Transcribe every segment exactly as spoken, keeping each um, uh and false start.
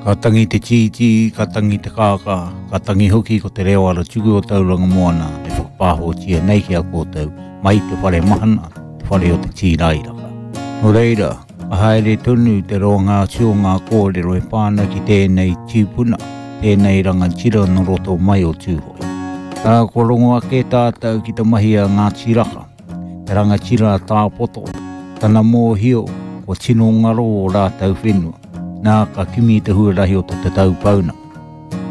Ka tangi te tītī, ka tangi te kākā, ka tangi hoki ko te reo ara tuku o Tauranga Moana e whakapāhotia nei ki a koutou mai te whare mahana, te whare o te tīrairaka. Nō reira, ka haere tonu te roanga atu o ngā kōrero e pā ana ki tēnei tīpuna, tēnei rangatira nō roto mai o Tūhoe. Ā, kua rongo ake tātou ki te mahi a Ngāti Raka, te rangatira a Tāpoto, tana mōhio, kua tino ngaro o rātou whenua. Nā ka kimi te huarahi o te tatau pauna.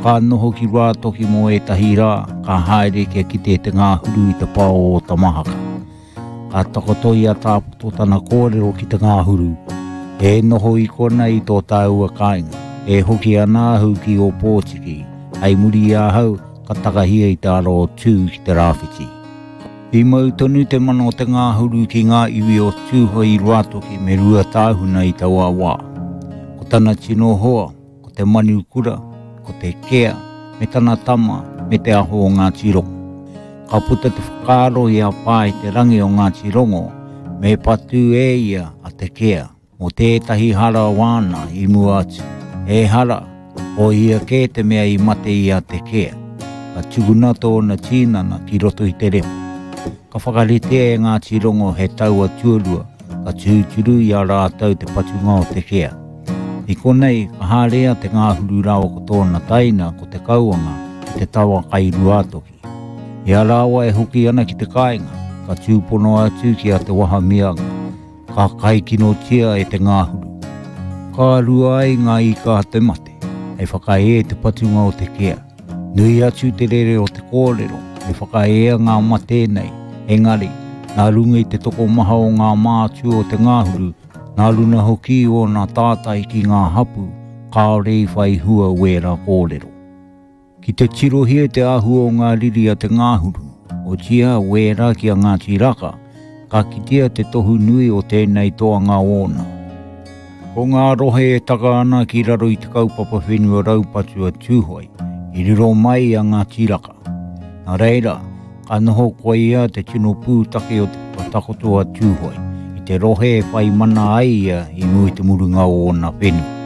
Ka noho ki Ruatoki mō ētahi rā, ka haere kia kite te ngāhuru i te pao o Tamahaka. Ka takoto i a Tāpoto tana kōrero ki te ngāhuru, e noho i kona i tō tāua kāinga, e hoki ana ahu ki Ōpōtiki, hei muri i ahau ka takahia i te ara o Tū ki te rāwhiti. I mau tonu te mana o te ngāhuru ki ngā iwi o Tūhoe i Ruatoki me Ruatāhuna i taua wā. Ko tana tino hoa, ko te manu kura, ko te kea, me tana tama, me te aho o Ngāti Rongo. Ka puta te whakaaro i a Pā i te rangi o Ngāti Rongo, me patu e ia a te kea, mō tētahi hara wāna i mua atu. E hara, o ia kē te mea i mate i a te kea. Ka tukuna tōna tīnana ki roto i te repo. Ka whakaritea e Ngāti Rongo he taua tuarua, ka tūturu i a rātou te patunga o te kea. I konei, ka haere te ngāhuru rawa ko tōna taina, ko te kauanga, ki te tawa kai Ruatoki. I a rāua e hoki ana ki te kāinga, ka tūpono atu ki a Te Wahamianga, ka kaikinotia e te ngāhuru. Ka rua ai ngā ika a te mate, hei whakaē te patunga o te kea. Nui atu te rere o te kōrero, me whakaea ngā mate nei, engari, nā runga i te tokomaha o ngā mātua o te ngāhuru, nā runa hoki o nā tātai ki ngā hapu, kāore i whai hua wēra kōrero. Ki te tirohia te āhua o ngā riri a te ngāhuru, o tia wēra ki a Ngāti Raka, ka kitea te tohu nui o tēnei toanga ōna. Ko ngā rohe e taka ana ki raro i te kaupapa whenua raupatu a Tūhoe, i riro mai a Ngāti Raka. Nā reira, ka noho koe ia te tino pūtake o te whakatakoto a Tūhoe, i te rohe e whai mana ai ia i mua i te murunga o ōna whenua.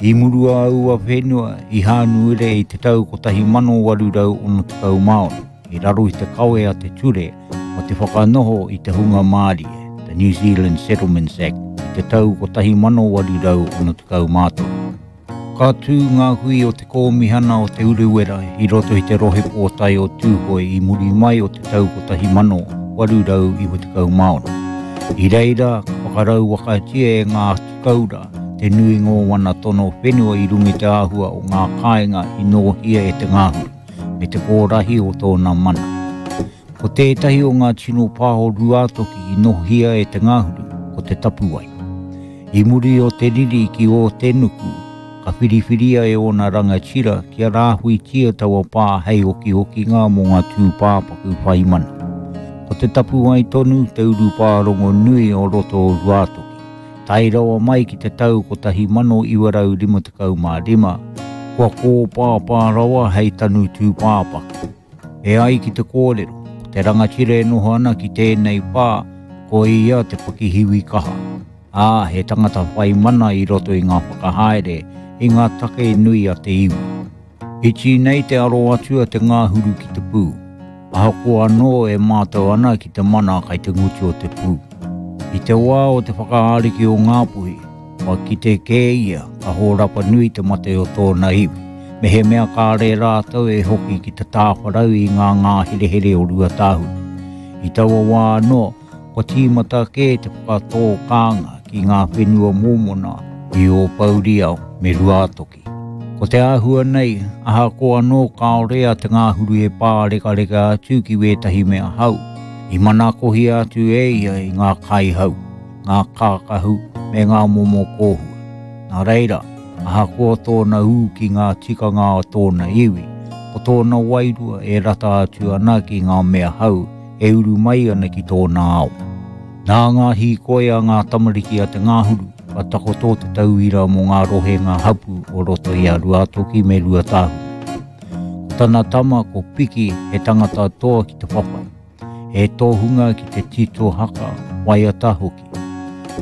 I murua aua whenua i Hānuere i te tau kotahi mano waru rau ono tekau mā ono, i raro i te kawe a te ture o te whakanoho i te hunga mārie, the New Zealand Settlements Act, i te tau kotahi mano waru rau ono tekau mā toru. Ka tū ngā hui o te kōmihana o Te Urewera i roto i te rohe pōtae o Tūhoe i muri mai o te tau kotahi mano waru rau iwa tekau mā ono. I reira, ka whakarauwakatia e ngā tikaura te nuinga o wana tono whenua i runga i te āhua o ngā kāinga i nōhia e te ngāhuru, me te kōrahi o tōna mana. Ko tētahi o ngā tino pā o Ruatoki i nōhia e te ngāhuru, ko te tapuwai. I muri o te riri ki o te nuku, ka whiriwhiria e ōna rangatira kia rāhuitia taua pā hei okiokinga mō ngā tūpāpaku whai mana. Ko te tapuwai tonu te urupā rongonui o roto o Ruatoki. Tae rawa mai ki te tau kotahi mano iwa rau rima tekau mā rima, kua kōpāpā rawa hei tanu tūpāpaku. E ai ki te kōrero, ko te rangatira e noho ana ki tēnei pā, ko ia te pakihiwi kaha. Ā, he tangata whai mana i roto i ngā whakahaere, i ngā take nui a te iwi. Iti nei te aro atu a te ngāhuru ki te pū. Ahakoa anō e mātau ana ki te mana kai te ngutu o te pū. I te wā o te whakaariki o Ngāpuhi, kua kite kē ia ka hōrapa nui te mate o tōna iwi. Me he mea kāre rātou e hoki ki te tāwharau i ngā ngāherehere o Ruatāhuna. I taua wā anō, kua tīmata kē te whakatō kānga ki ngā whenua mōmona i Ōpouriao me Ruatoki. Ko te āhua nei, ahakoa anō kāore a te ngāhuru e pārekareka atu ki wētahi mea hau, i manakohia atu e ia i ngā kaihau, ngā kākahu me ngā momo kōhua. Nā reira, ahakoa tōna ū ki ngā tikanga o tōna iwi, ko tōna wairua e rata atu ana ki ngā mea hau e uru mai ana ki tōna ao. Nā ngā hīkoi a ngā tamariki a te ngāhuru, ka takoto te tauira mō ngā rohe ngā hapu o roto i a Ruatoki me Ruatāhuna. Ko tana tama ko Piki he tangata toa ki te whawhai, he tohunga ki te tito haka, waiata hoki.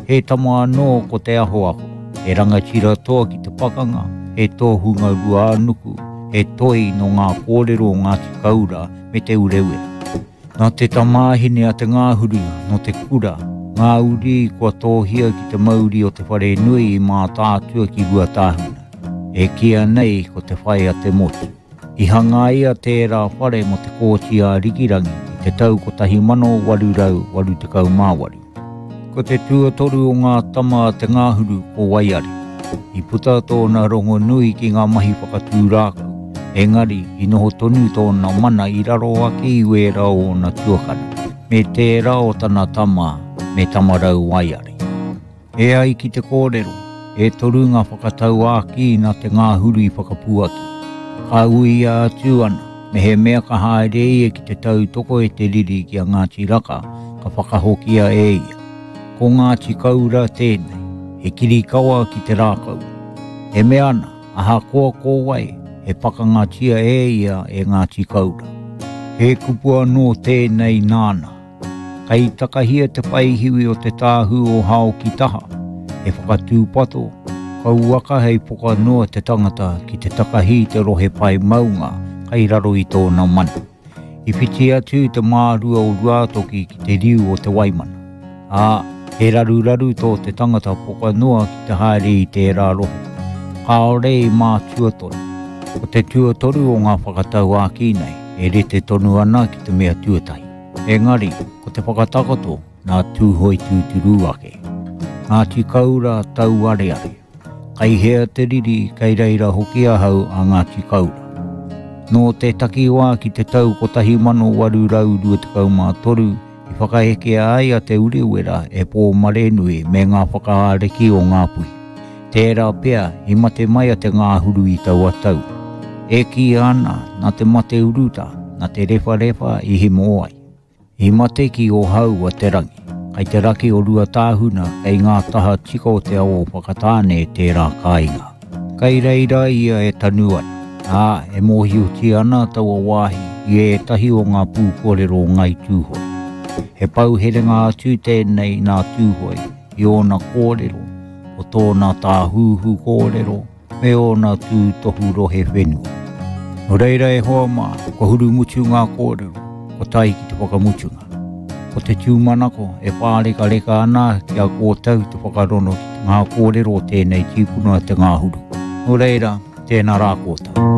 He tama anō ko te ahoaho, he rangatira toa ki te pakanga, He tōhunga Ruānuku, he toi no ngā kōrero o Ngāti Kaura me Te Urewera. Nā te tamāhine a Te Ngāhuru no te kura, ngā uri kua tōhia ki te mauri o te whare nui i Mātaatua ki Ruatāhuna. E kia nei ko te whai a te motu. I hangaia tērā whare mo te kōti a Rikirangi i te tau kotahi mano waru rau waru tekau mā waru. Ko te tuatoru o ngā tama a Te Ngāhuru ko Waiari. I puta tōna rongo nui ki ngā mahi whakatū rākau, engari i noho tonu tōna mana i raro ake i wērā o ōna tuakana, me tērā o tana tama me Tamarau Waiari. E ai ki te kōrero, e toru ngā whakatauākī nā Te Ngāhuru i whakapuaki. Ka uia atu ana, me he mea ka haere ia ki te tautoko e te riri ki a Ngāti Raka, ka whakahokia e ia. Ko Ngāti Kaura tēnei, he kirikawa ki te rākau. E mea ana, ahakoa ko wai, he pakangatia e ia e Ngāti Kaura. He kupu anō tēnei nāna. Kai takahia te whaihiwi o te tāhu o hao ki taha, he whakatūpato, kauaka hei poka noa te tangata ki te takahi te rohe pai maunga kai raro i tōna mana. I whiti atu te mārua o Ruātoki ki te riu o Te Waimana. Ā, he raruraru tō te tangata poka noa ki te haere i tērā rohe. Kāore i mātua tonu. Ko te tuatoru o ngā whakatauākī nei, e rete tonu ana ki te mea tuatahi. Engari, ko te whakatakoto nā Tūhoe tūturu ake. Ngāti Kaura tauareare. Kai hea te riri, kai reira hoki ahau a Ngāti Kaura. Nō te takiwā ki te tau kotahi mano waru rau rua tekau mā toru, i whakahekea ai a Te Urewera e Pōmarenui me ngā whakaariki o Ngāpuhi. Tērā pea i mate mai a Te Ngāhuru i taua tau. E kī ana nā te mate uruta, nā te rewharewha i himo ai. I mate ki o hau a te rangi, kai te raki o Ruatāhuna kei ngā taha tika o te awa o Whakatāne tērā kāinga. Kai reira ia e tanu ana, ā, e mōhiotia ana taua wāhi i ētahi o ngā pūkōrero o Ngāi Tūhoe. He pauherenga atu tēnei nā Tūhoe i ōna kōrero, o tōna tāhuhu kōrero, me ōna tūtohu rohe whenua. Nō reira e hoa mā, kua hurumutu ngā kōrero, ko tai ki te whakamutunga. Ko te tūmanako e pārekareka ana ki a kōtau te whakarono ki ngā kōrero o tēnei tīpuna Te Ngāhuru. Nō reira, tēnā rā kōtau.